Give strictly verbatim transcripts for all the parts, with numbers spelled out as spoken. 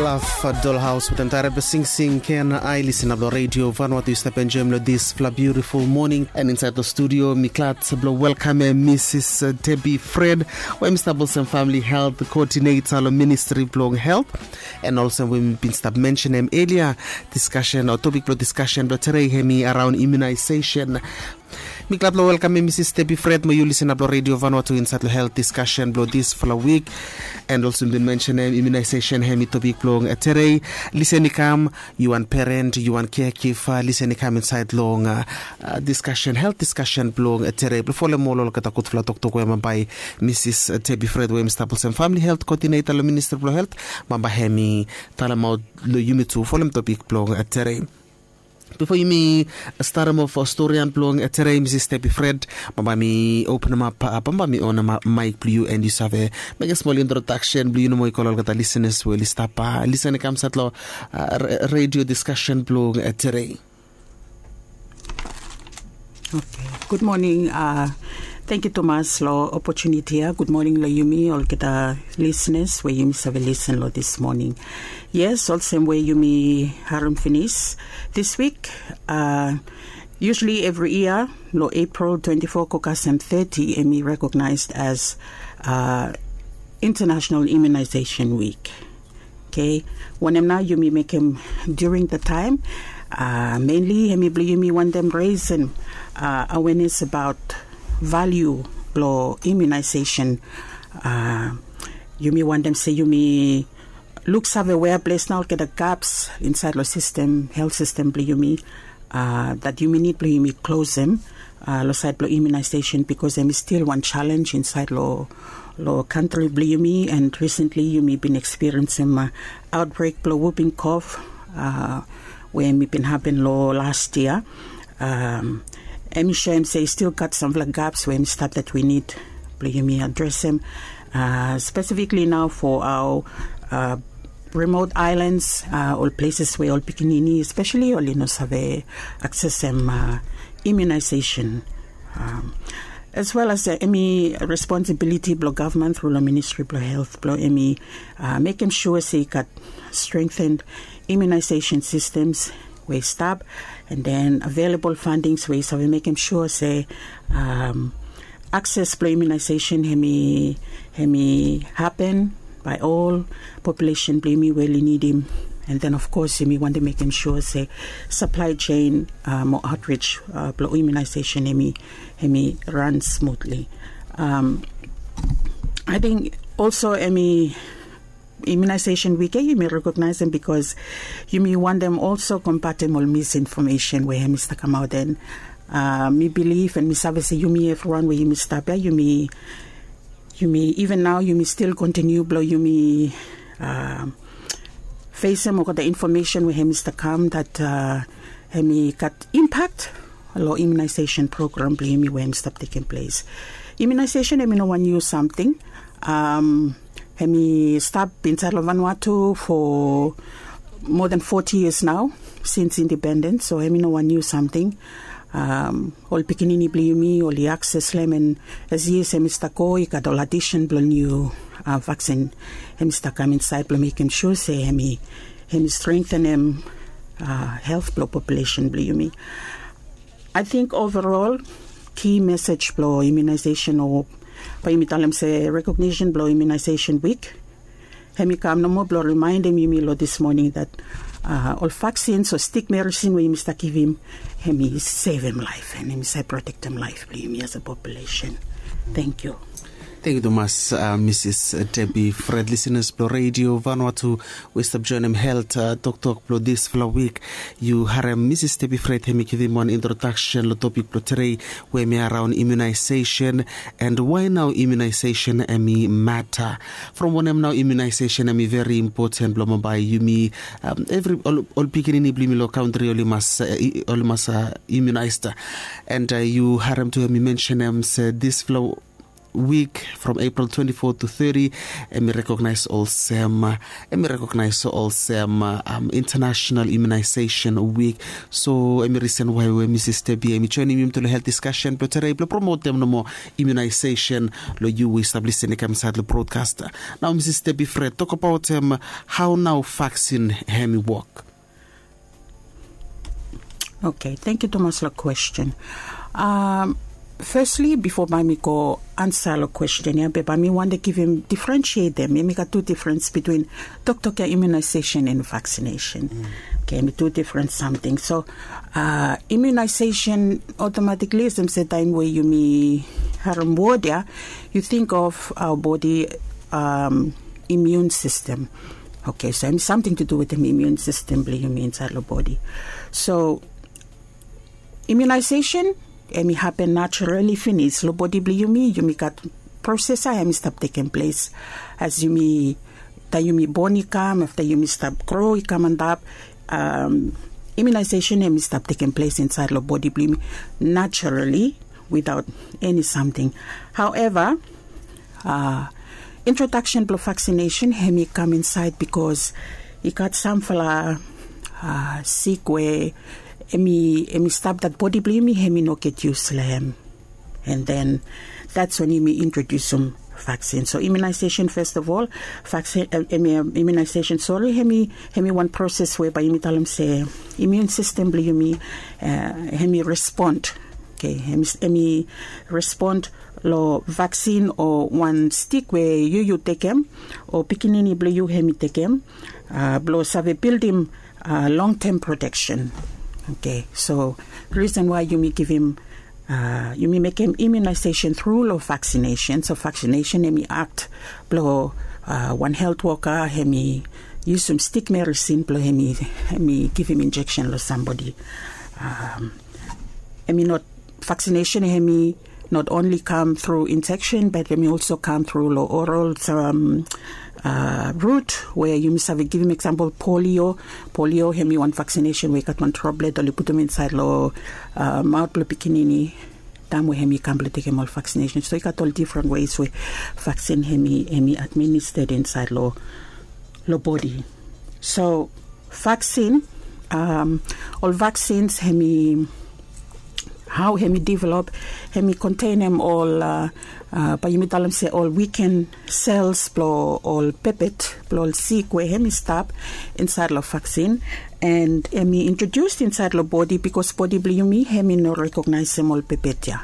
Laf Dolhaus wetem taret blong singsing ken ai lisin ap long redio Vanuatu i stap enjoim long dispela biutiful moning. And insait long studio mi glad blong welkamem Misis Debbie Fred, we mi stap olsem famili helt koodineta long ministri blong helt. And olsem we mi bin stap mensenem elia, diskasen o topik blong diskasen blong tere hemi araon imunaisesen. Mi glad long welkamem Misis Debbie Fred mo yu lisin ap long redio Vanuatu insait long helt diskasen blong dispela wik. And olsem bin mensenem imunaisesen hemi topik blong tere. Lisin i kam, yu wan peren, yu wan kekiva, lisin i kam insait long diskasen, helt diskasen blong tere blong folem ol olgeta gudfala toktok we bambae Misis Debbie Fred we mi stap olsem famili helt koodineta long ministri blong helt, bambae hemi talemaot long yumi tu folem topik blong tere. Bifo yumi statem of storian blong tere, Misis Debbie Fred, bambae mi openem ap, bambae mi onem ap maik blong yu and yu save mekem smol introdaksen blong yu nomo i go long olgeta lisenas we oli stap lisin i kam sait long redio diskasen blong tere. Oke, gud moning. Thank yu tumas long opotuniti ya. Gud moning long yumi olgeta lisenas we yumi save lisin long dis moning. Yes, olsem we yumi harim finis, dis wik, usually evri yia long April twenti fo go kasem teti, em i rekognaisd as International Immunization Week. Oke, wanem nao yumi mekem during the time? Mainly hemi blong yumi wantem raisem awareness about value blong immunization. Yumi wantem se yumi luksave wea ples nao olgeta gaps insait long sistem, helt sistem blong yumi, dat yumi nid blong yumi klosem long sait blong immunization, bikos em i stil wan chalenj insait long kantri blong yumi. And recently yumi bin ekspiriensim aotbrek blong wuping kof we em i bin hapen long las yia. Em i soem se i stil gat samfala gaps we em i stap dat wi nid blong yumi adresem, spesifikli nao fo aoa remot ailans, ol pleses we ol pikinini espeseli oli no save aksesem imunaisesen. As well as em i responsibiliti blong gavman tru long ministri blong helt blong em i mekem sua se i gat strengthen imunaisesen sistems we i stap, and then available fundings we i save mekem sua se akses blong imunaisesen em i hapen bae ol populesen blong yumi we oli nidim. And then of course yumi wantem mekem sua se saplai sen mo aotrij blong imunaisesen em i ran smutli. Ating olso em i imunaisesen wik ya yumi rekognaisem bikos yumi wantem olso kombatem ol misinfomesen we em i stap kamaot. And mi bilif and mi save se yumi evriwan we yumi stap ya yumi yumi iven nao yumi stil kontiniu blong yumi fesem olgeta infomesen we em i stap kam dat em i gat impak long imunaisesen program blong yumi we em i stap tekem ples. Imunaisesen em i no wan niu samting. Em i stap insait long Vanuatu fo moa than foti yias nao, sins indipendens, so em i no wan niu samting. Ol pikinini blong yumi oli akses long em, and as yias em i stap go i gat ol adisen blong niu vaksin em i stap kam insait blong mekem sua se em i strengtenem helt blong populesen blong yumi. Ating overol ki mesej blong imunaisesen o bae yumi talem se rekognishen blong imunaisesen wik, em i kam nomo blong rimaendem yumi long dis moning dat ol vaksins o stik merisin we yumi stap givim em i sevem laef and em i save protektem laef blong yumi as a populesen. Tenkyu. Tenkyu tumas. Misis Debbie Fred, lisenas blong redio Vanuatu we i stap joinim helt toktok blong dispela wik. Yu harim Misis Debbie Fred em i givim wan introdaksen long topik blong tere we em i araon imunaisesen. And wae nao imunaisesen em i mata? From wanem nao imunaisesen em i veri impoten blong bambae yumi, evri ol pikinini blong yumi long kantri oli mas imunaista. And yu harim tu em i mensenem se dispela wik from April twenty-four to thirty, em i recognize olsem, em i recognize olsem um, International Immunization Week. So em i reason why we Mrs Debbie em i joinim yumi to lo health discussion blo today blo promotem nomo immunization lo yu we i stap listening kam inside lo broadcast. Now Mrs Debbie Fred, talk about um, how now vaccine hem i work. Okay, thank you Thomas lo question. Um, firstly, before bae mi go answer lo question ya, be bae mi want to give him differentiate them. Mi got two difference between toktok ya immunization and vaccination. Mm. Okay, mi two different something. So uh, immunization automatically is the same time where you mi harem word ya, you think of our body um, immune system. Okay, so em something to do with the immune system blo yumi inside lo body. So immunization em i happen naturally finis lo body blo yumi. Yumi gat process ya em i stap taking place as yumi, taem yumi born i kam, afta yumi stap grow i kam antap. Um, immunization em i stap taking place inside lo body blo yumi naturally without any something. However, uh, introduction blo vaccination hem i kam inside because i gat samfala uh, sik we em i, em i stap dat bodi blo yumi hem i no get yus lo hem. And then that's when yumi introdusim vaccine. So immunization first of all, vaccine, uh, immunization, sorry, hem i, hem i wan process whereby yumi talem se immune system blo yumi uh, hem i respond. Okay, hem i respond lo vaccine o wan stik we yu yu tekem o pikinini blo yu hem i tekem uh, blo save bildim uh, long term protection. Okay, so reason why yumi givim uh, yumi mekem immunization through lo vaccination. So vaccination hem i act blo uh, wan health worker hem i yusum stik medicine blo hem i, hem i givim injection lo somebody. Um, hem i not vaccination hem i not only come through injection but hem i also come through lo oral um, uh, route where yumi save givim example polio. Polio hem i wan vaccination we i gat wan droplet oli putum inside lo uh, maot blo pikinini taem we hem i kam blo tekem ol vaccination. So i gat ol different ways we vaccine hem i, hem i administered inside lo, lo body. So vaccine um, ol vaccines hem i, how hem i develop, hem i containem ol uh, uh, bae yumi talem se ol weekend cells blo ol pepet blo ol sik we hem i stap inside lo vaccine. And hem i introduce inside lo bodi because bodi blo yumi hem i no recognisim ol pepet ya.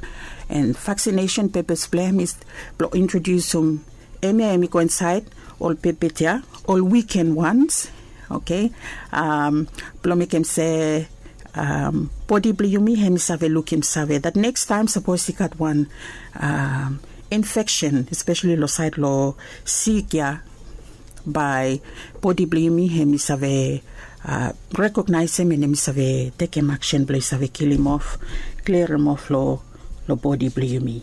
And vaccination purpose blo hem is blo introdusim hem ya hem i go inside ol pepet ya, ol weekend ones. Okay, um, blo mekem se um, bodi blo yumi hem i save lukim save that next time sapos i gat wan um, infection especially lo side lo sik ya, bae bodi blo yumi hem i save uh, recognisim and hem i save tekem action blo i save kilim of, klirim of lo, lo bodi blo yumi.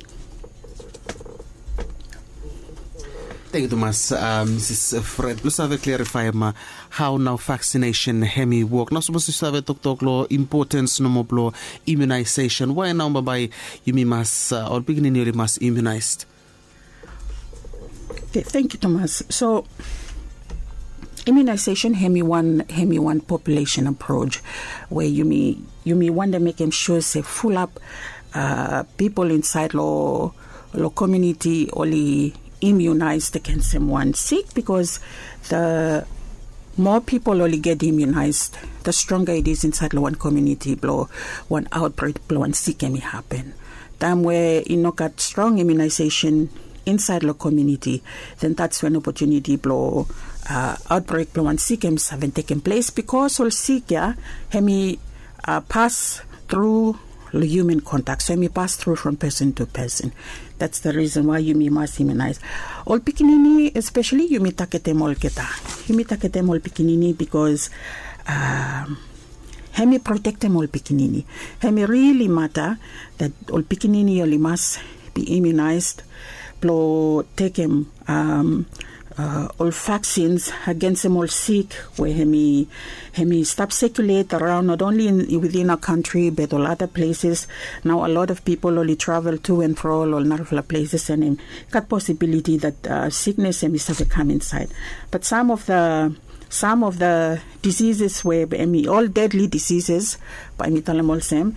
Thank you tumas uh, Mrs Fred blo save clarify ma how now vaccination hem i work. Now sapos yu save toktok lo importance nomo blo immunization, why now bae yumi mas uh, ol pikinini oli mas immunized? Okay, thank you Thomas. So immunization hem i wan, hem i wan population approach where yumi, yumi want to make him sure se full up uh, people inside lo, lo community oli immunized against him wan sik because the more people oli get immunized, the stronger it is inside lo wan community blo wan outbreak blo wan sik hem i happen. Taem we i no gat strong immunization inside lo community, then that's when opportunity blo uh, outbreak blo wan sik hem i save tekem place because ol sik ya hem i uh, pass through lo human contact. So hem i pass through from person to person. That's the reason why yumi mas immunize ol pikinini, especially yumi targetem olgeta. Yumi targetem ol pikinini because um, hem i protectem ol pikinini. Hem i really matter that ol pikinini oli mas be immunized blo tekem um, ol vaksins agensem ol sik we hemi hemi stap sekiulet araon, not only in within a kantri but ol ada pleses. Nao a lot of pipol oli travel tu and fro ol narafala pleses and em gat posibiliti dat siknes hemi save kam insaed. Bat sam of da sam of da disises we hemi ol dedli disises, bae mi talem olsem,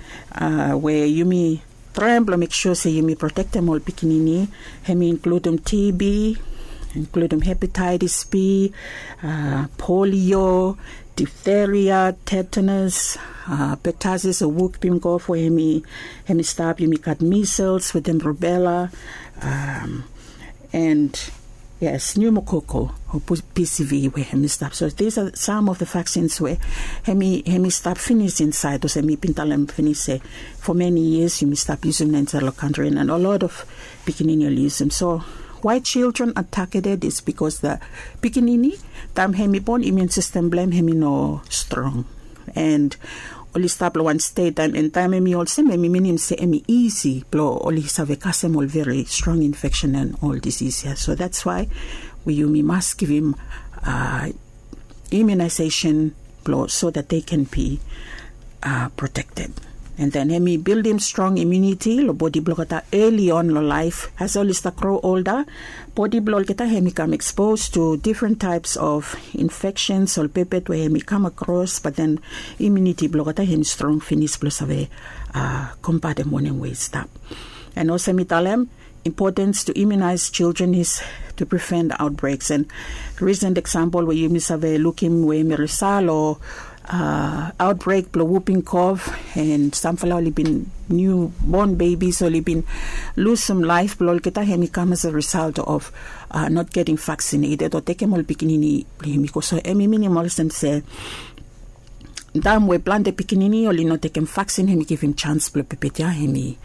we yumi traem blong mek sua se yumi protektem ol pikinini, hemi inkludum TB, inkludum hepatitis B, polio, difteria, tetanus, pertussis o wukpim gof we hemi hemi stap, yumi gat misels wetem rubela, and yes, pneumococcal o PCV we hemi stap. So these are some of the vaksins we hemi hemi stap finis insaed olsem mi bin talem finis se for many years yumi stap yusum insaed long kantri and a lot of pikinini oli yusum. So why children are targeted is because the pikinini, taem hemi bon, imun sistem blong hem hemi no strong. And oli stap long wan stet taem, and taem hemi olsem, hemi minim se hemi isi blong oli save kasem ol veri strong infeksen and ol disis ya. So that's why we yumi mas givim imunization blong so that they can be protekted. And then hemi bildim strong imuniti long bodi blong olgeta eli on long laef. As oli stap gro olda, bodi blong olgeta hemi kam ekspos tu difren taeps of infeksens ol pepet we hemi kam akros, bat then imuniti blong olgeta hemi strong finis blong save kombatem wanem we i stap. And olsem mi talem, importance to immunize children is to prevent outbreaks. And recent example we yumi save lukim we hemi result o outbreak blong whooping cough, and samfala oli bin newborn babies oli bin lusum laef blong olgeta, hemi kam as a result of not getting vaccinated o tekem ol pikinini blong yumi go. So hemi minim olsem se taem we plante pikinini oli no tekem vaksin, hemi givim jans blong pepet ya hemi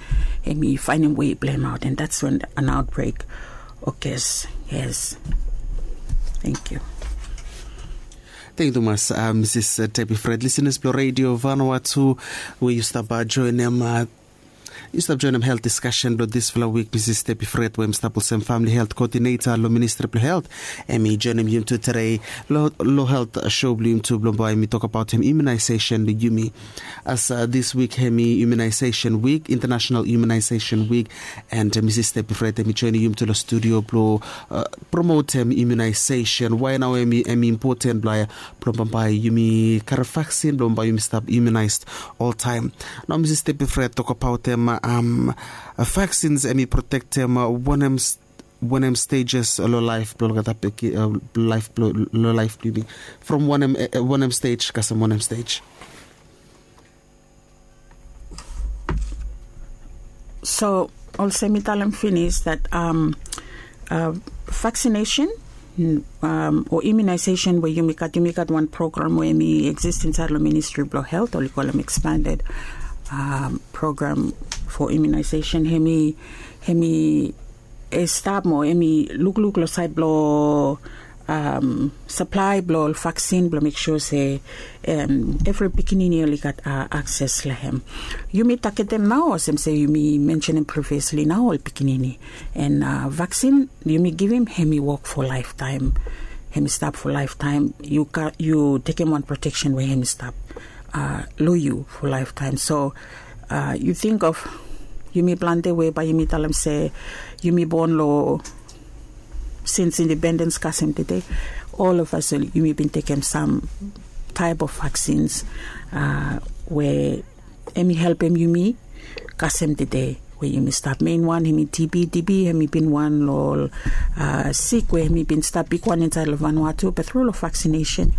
hemi faenem wei blong hem aot, and that's when an outbreak occurs. Yes. Thank you. Thank you tumas, Mrs Debbie Fred. Listeners blong Radio Vanuatu, we yu stap joenem yu stap joenem helt diskasen blong disfala wik, Mrs Debbie Fred we hem stap olsem famili helt koodineta long Ministri blong Helt, hemi joenem yumi tu tede long helt sho blong yumi tu blong bae yumi tokbaot hem imunaesesen long yumi. As dis wik hemi imunaesesen wik, Intanasenal Imunaesesen Wik, and Mrs Debbie Fred hemi joenem yumi tu long studio blong promotem imunaesesen. Wae nao hemi impoten blong blong bambae yumi karem vaksin blong bambae yumi stap imunaes oltaem. Nao Mrs Debbie Fred tokbaotem vaksins hemi protektem wanem stejes long laef blong olgeta pikinini, long laef blong yumi, from wanem stej kasem wanem stej? So olsem mi talem finis dat vaksinesen o imunaesesen we yumi gat, yumi gat wan program we hemi eksis insaed long Ministri blong Helt, oli kolem ekspanded program fo imunaesesen. Hemi hemi stap mo hemi lukluk long saed blong saplae blong ol vaksin blong mek sua se evri pikinini oli gat akses long hem. Yumi tagetem nao olsem se yumi mensenem priviosli nao ol pikinini, and vaksin yumi givim hemi wok fo laeftaem. Hemi stap fo laeftaem. Yu tekem wan proteksen we hemi stap long yu fo laeftaem. So yu ting of yumi plante we bae yumi talem se yumi bon long sins independens kasem tede, ol of as yumi bin tekem sam taep of vaksins we hemi helpem yumi kasem tede we yumi stap. Mein wan hemi TB. TB hemi bin wan long ol sik we hemi bin stap bigwan insaed long Vanuatu, bat tru long vaksinesen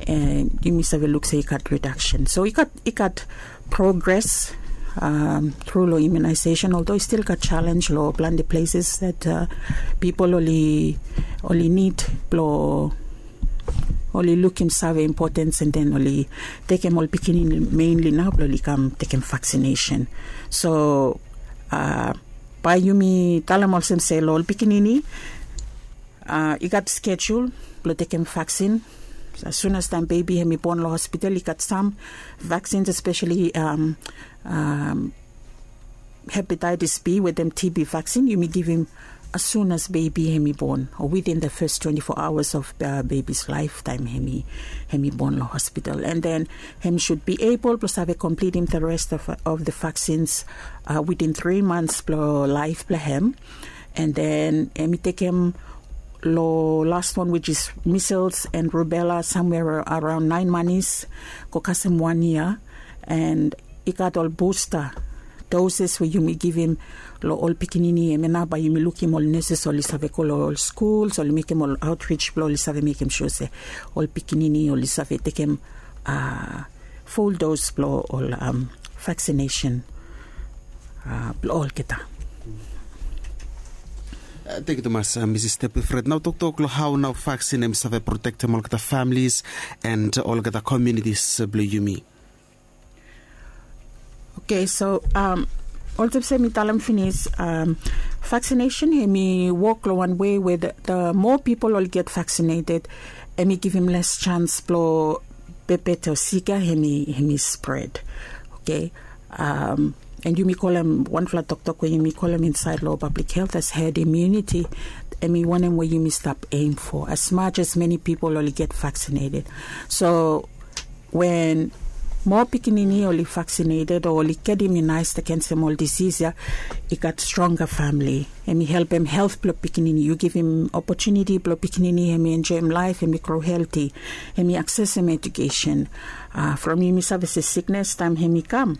yumi save luk se i gat redaksen. So i gat i gat progres tru long imunaesesen, oldo i stil gat jalenj long plante pleses dat pipol oli oli nid blong oli lukim save impotens, and then oli tekem ol pikinini meinli nao blong oli kam tekem vaksinesen. So bae yumi talem olsem se long ol pikinini i gat skejul blong tekem vaksin. As soon as taem bebi hemi bon long hospital, i gat sam vaksins, espeseli hepatitis B wetem TB vaksin, yumi givim As soon as bebi hem i bon, o within the first twenty-four hours of baby's life taem hem i bon long hospital, and then hem should be able blong save komplitim the rest of the vaksins within three months blong laef blong hem. And then hem i tekem long last one, which is measles and rubella, somewhere around nine manis go kasem wan yia. And i gat ol busta doses we yumi givim long ol pikinini, hemia nao bae yumi lukim ol neses oli save go long ol skuls, oli mekem ol outreach blong oli save mekem sua se ol pikinini oli save tekem full dose blong ol vaccination blong olgeta. Thank you tumas, Mrs Stepifred. Nao toktok long hao nao vaksin hem i save protektem olgeta families and olgeta communities blong yumi. Okay, so olsem se mi talem finis, vaccination hem i wok long wan wei we the more people oli get vaccinated, hem i givim less chance blong bebet o sik ya hem i spread. Okay. And yumi kolem wanfala toktok we yumi kolem insaed long public health as herd immunity. Hem i wanem we yumi stap aim for, as much as many people oli get vaccinated. So wen moa pikinini oli vaccinated o oli get immunized against hem ol disease ya, i gat stronger family. Hem i helpem health blong pikinini, yu givim opportunity blong pikinini hem i enjoem laef, hem i grow healthy, hem i accessem education. From yumi save se sickness taem hem i kam,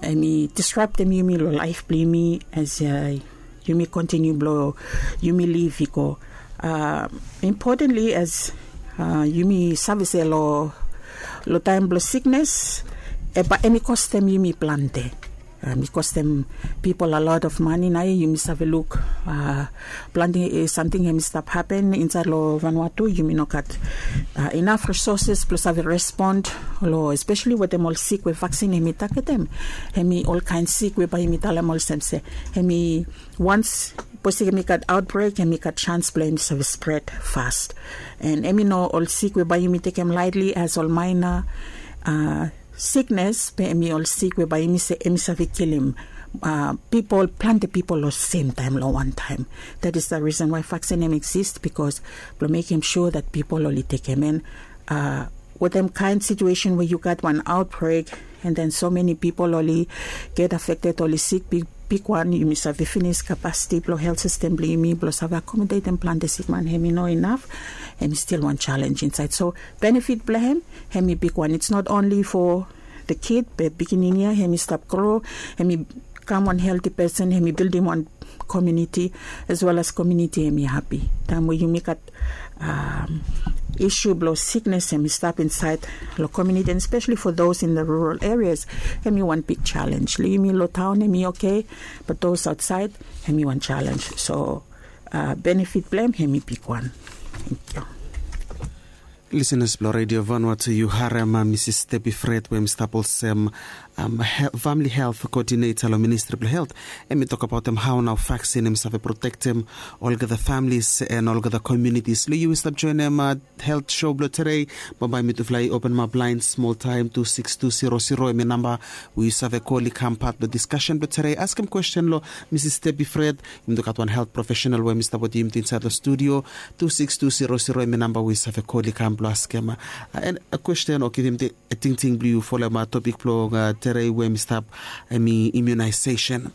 hem i disruptem yumi long laef blong yumi as yumi continue blong yumi live i go. Importantly, as yumi save se long taem blong sickness, bae hem i kostem yumi plante. Hem i kostem people a lot of money. Nao yumi save luk plante samting hem i stap hapen insaed long Vanuatu. Yumi no gat enough resources blong save respond long, especially wetem ol sik we vaksin hem i tagetem. Hem i olkaen sik we bae yumi talem olsem se hem i, once sapos hem i gat outbreak, hem i gat chance blong hem i save spread fast. And hem i no ol sik we bae yumi tekem lightly as ol minor sickness, be hem i ol sik we bae yumi se hem i save kilim people, plante people long sem taem long wan taem. That is the reason why vaksin hem i exist, because blong mekem sua that people oli tekem. And wetem kaen situation we yu gat wan outbreak, and then so many people oli get affected, oli sik bigwan, yumi save finis capacity blong health system blong yumi blong save accommodatem plante sikman hem i no inaf. Hem i stil wan challenge insaed. So benefit blong hem, hem i bigwan. It's not only for the kid, be pikinini ya hem i stap grow, hem i kam wan healthy person, hem i bildim wan community, as well as community hem i happy. Taem we yumi gat issue blong sickness hem i stap insaed long community, and especially for those in the rural areas, hem i wan big challenge. Long yumi long taon hem i okay, but those outside, hem i wan challenge. So benefit blong hem, hem i bigwan. Lisenas blong Radio Vanuatu, yu harem Mrs Stepifred we hem i stap olsem family health coordinator long Ministri blong Health. Hem i tokbaotem hao nao vaksin hem i save protektem olgeta families and olgeta communities. Long yu we stap joenem health show blong tedei, bambae mitufala i openemap laen smoltaem. Tu siks tu zero zero hem i namba we yu save kol i kam pat blong discussion blong tedei, askem kwesten long Mrs Stepifred. Yumi tu gat wan health professional we hem i stap wetem yumi tu insaed long studio. Tu siks tu zero zero hem i namba we yu save kol i kam blong askem kwesten o givim tingting blong yu folem topik blong tedei we hem i stap, hem i immunization.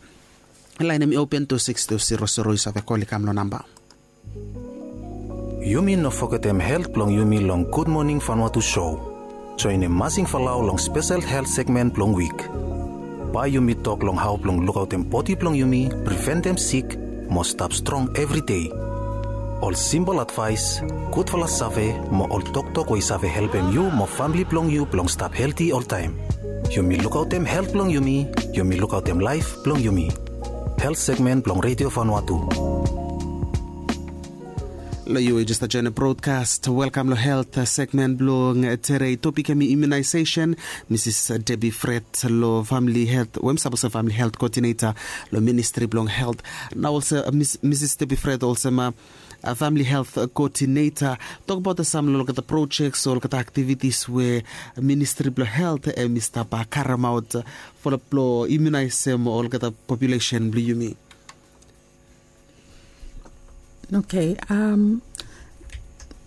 Laen hem i open, tu siks tu zero zero, yu save kol i kam long namba. Yumi no fogetem health blong yumi long Gud Moning Vanuatu show. Joenem Masing Falau long spesel health segment blong wik. Bae yumi tok long hao blong lukaotem bodi blong yumi, preventem sik, mo stap strong evri dei. Ol simpol advaes, gudfala save, mo ol toktok we i save helpem yu mo famle blong yu blong stap helti oltaem. Yumi lukaotem health blong yumi, yumi lukaotem laef blong yumi. Health segment blong Radio Vanuatu. Long yu we jes stap joenem brodkas, welkam long health segment blong tedei. Topik hem i immunization. Mrs Debbie Fred long family health, we hem i stap olsem family health coordinator long Ministri blong Health. Nao olsem Mrs Debbie Fred olsem family health coordinator, tokbaot sam long olgeta projects o olgeta activities we Ministri blong Health hem i stap karemaot blong immunisem olgeta population blong yumi. Okay, um,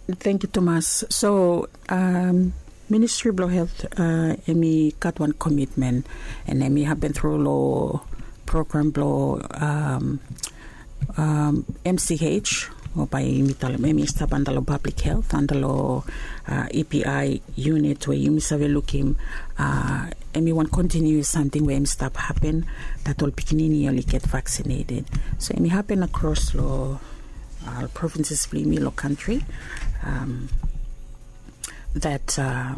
thank you, Thomas. So, um, Ministry blong Health, uh, emi gat wan commitment, and emi happen through lo program blong, um, um, M C H, o bae yumi talem emi stap antalo public health, antalo, uh, E P I unit we yumi save lukim, uh, emi wan continuous samting we emi stap happen, dat ol pikinini oli get vaccinated. So emi happen across lo, uh, provinces blong yumi lo country. Um, that, uh,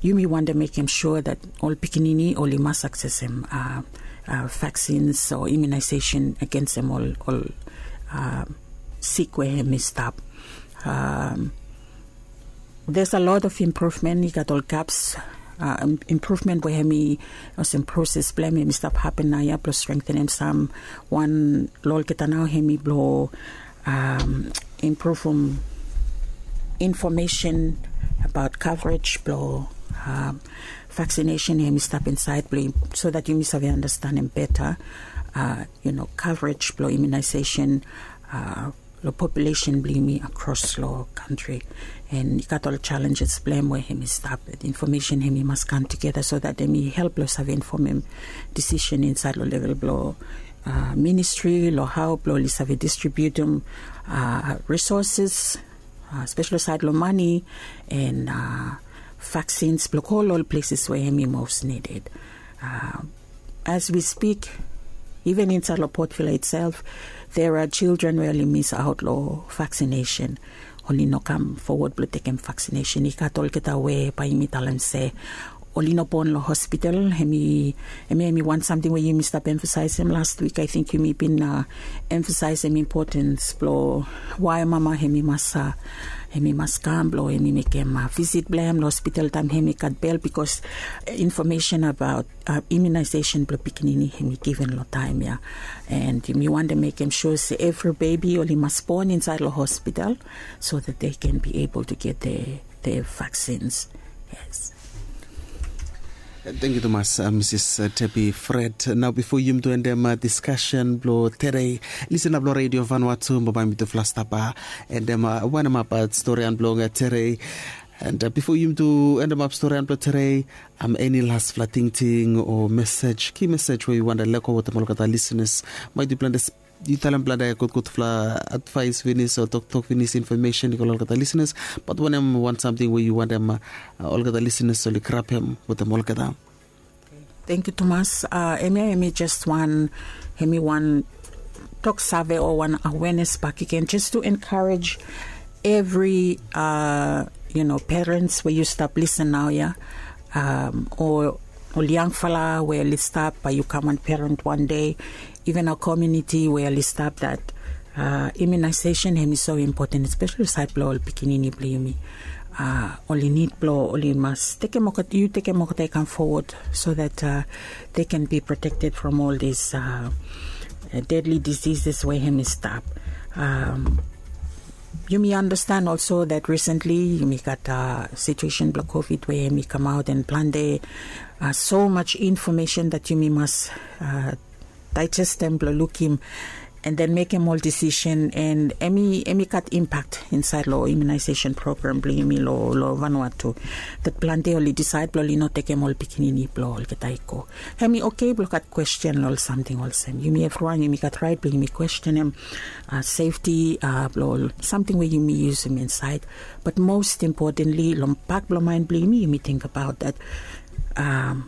yumi wantem mekem sure that ol pikinini oli mas aksesem, uh, uh, vaccines o immunization against em ol, ol, uh, sik we emi stap. Um, there's a lot of improvement, i gat ol gaps, uh, improvement we emi, olsem proses blong emi stap happen naoia blong strengthenem sam wan lo olgeta nao emi blong, um, improvem information about coverage blong, um, vaccination emi stap insaed blong, so that yumi save understandem beta, uh, you know, coverage blong immunization, uh, lo population blong yumi across lo country. And i gat ol challenges blong em we emi stap, information emi mas kam together so that emi help lo save informem decision insaed lo level blong, uh, ministry, lo hao blong oli save distributem, uh, resources, uh, especially saed lo money and, uh, vaccines blong go lo ol places we emi most needed. Uh, as we speak, even insaed lo Port Vila itself, there are children we oli miss out lo vaccination. Oli no kam forward blong tekem vaccination. I gat olgeta we bae yumi talem se oli no bon lo hospital. Emi, emi, emi wan samting we yumi stap emphasizem last week. I think yumi bin, uh, emphasizem importance blong wae mama emi mas, uh, emi mas kam blong emi mekem, uh, visit blong em lo hospital taem emi gat bel, because, uh, information about, uh, immunization blong pikinini emi given lo taem ia. And yumi wantem mekem sure se evri baby oli mas bon insaed lo hospital so that they can be able to get their, their vaccines. Yes. Thank you, Thomas, uh, Mrs, uh, Tepi Fred. Nao bifo yumi tu endem, uh, discussion blong tedei, lisin blong Radio Vanuatu, bae mitufala stap, uh, endem, uh, wanemap, uh, storian blong, uh, tedei. And, uh, bifo yumi tu endemap storian blong tedei, um, eni lasfala tingting o mesej, ki mesej we yu wantem lego wetem olgeta lisenas? Maet yu talem plante gudgudfala advaes finis o toktok finis, information i go lo olgeta lisenas, bat wanem wan samting we yu wantem, uh, olgeta lisenas oli grabem wetem olgeta? Thank you, Thomas. Uh, emi, emi just wan, emi wan tok save o wan awareness bakegen, just to encourage evri, uh, you know, parents we yu stap lisen naoia, um, o ol yangfala we oli stap bae yu kam wan parent wan dei, even a community we oli stap, that, uh, immunization emi so important, especially saed blong ol pikinini blong yumi. Uh, oli nid blong oli mas tekem olgeta, yu tekem olgeta i kam forward so that, uh, they can be protected from all these, uh, uh, deadly diseases we emi stap. Um, yumi understand also that recently yumi gat, uh, situation blong COVID we emi kamaot and plante, uh, so much information that yumi mas, uh, digestem blong lukim and then mekem ol decision, and emi, emi gat impact insaed lo immunization program blong yumi lo, lo Vanuatu. That plante oli disaed blong oli no tekem ol pikinini blong olgeta i go. Emi okay blong gat question lo ol samting olsem. Yumi evriwan yumi gat raet blong yumi questionem, uh, safety, uh, blong ol samting we yumi yusum insaed. But most importantly, lo bak blong maen blong yumi, yumi tingbaot that, um,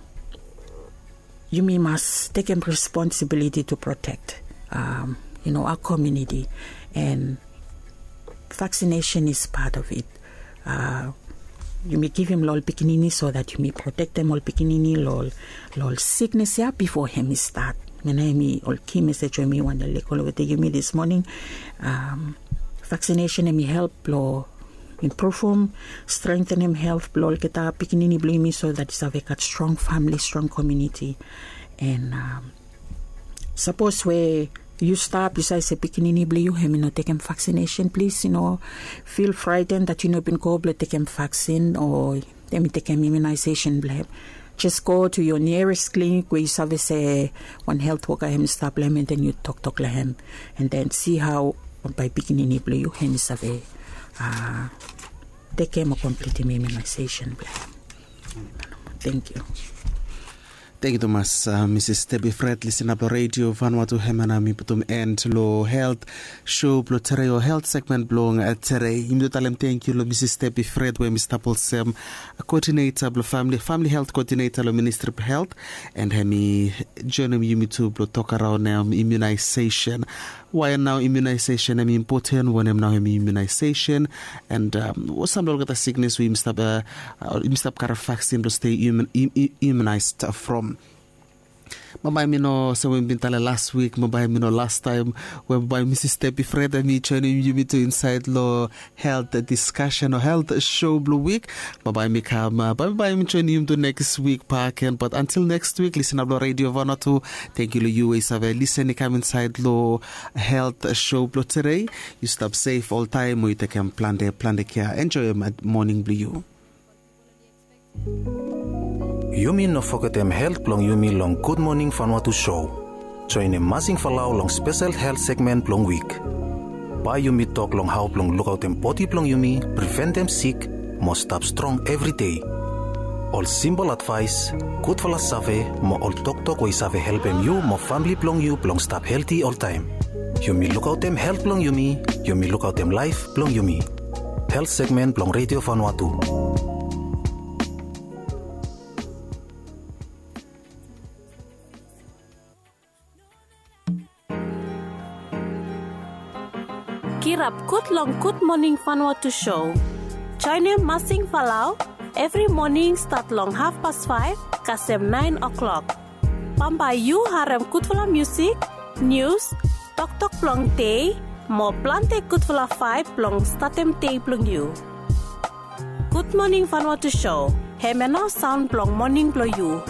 yumi mas tekem responsibility to protect, um, you know, our community, and vaccination is part of it. Uh, yumi givim lo ol pikinini so that yumi protektem ol pikinini lo ol, lo ol siknes ia bifo emi stat. Hemia emi ol ki mesej we mi wantem lego wetem yumi this morning. Um, vaccination emi help lo impruvum, strengthenem health blong olgeta pikinini blong yumi, so that i save gat strong famili, strong community. And, um, sapos we yu stap, yu save se pikinini blong yu hemi no tekem vaccination, plis, yu no feel frightened that yu no bin go blong tekem vaccine o hemi tekem immunization blong hem. Just go to your nearest clinic we yu save se wan health worker hemi stap long hem, and then yu toktok long hem, and then see how Bambae pikinini blong yu hem i save tekem o komplitim imunaiseisen blong hem. Thank you. Thank you tumas, Mrs Debbie Fred, listener blong Radio Vanuatu. Hem ya nao mi putum end long health show blong tere o health segment blong tere. Yumi tu talem thank you long Mrs Debbie Fred we mi stap olsem coordinator blong family, family health coordinator long Ministry of Health, and hem i joinim yumi tu blong tok araon imunaiseisen. Wae nao imunaiseisen hem i impoten, wanem nao hem i imunaiseisen, and olsem long olgeta siknes we yumi stap karem vaksin blong stei imunaised from. Bambae mi no olsem we mi bin talem las wik, bambae mi no lastaem we bambae Mrs Debbie Fred hem i joinim yumi tu insaed long health diskasen o health show blong wik. Bambae mi kam, bambae mi joinim yumi tu neks wik bakegen, bat antil neks wik, listener blong Radio Vanuatu, thank you long yu we yu save listen i kam insaed long health show blong tere. Yu stap sef oltaem, mo yu tekem plante plante kea. Enjoem moning blong yu. Yumi no fogetem health blong yumi long Gud Moning Vanuatu show. Joinim Masing Falau long spesel health segment blong wik. Bae yumi tok long hao blong lukaotem bodi blong yumi, priventem sik, mo stap strong evri dei. Ol simpol advaes, gudfala save, mo ol toktok we i save helpem yu mo famle blong yu blong stap helti oltaem. Yumi lukaotem health blong yumi, yumi lukaotem laef blong yumi. Health segment blong Radio Vanuatu. Kirap gud long Gud Moning Vanuatu show. Joinim Masing Falau evri moning stat long hafpas faef kasem naen o'klok. Bambae yu harem gudfala musik, nius, toktok blong dei, mo plante gudfala vaeb blong statem dei blong yu. Gud Moning Vanuatu show, hemia nao saon blong moning blong yu.